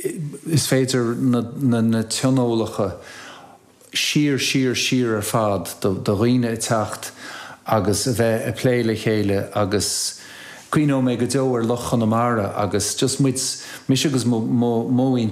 Is féidir na tionólacha siar, siar, siar ar fad do dhaoine ag teacht agus a bheith ag plé le chéile agus cuimhneoidh mé go deo ar Loch Chonamara agus just muid, mise agus mo mhuintir.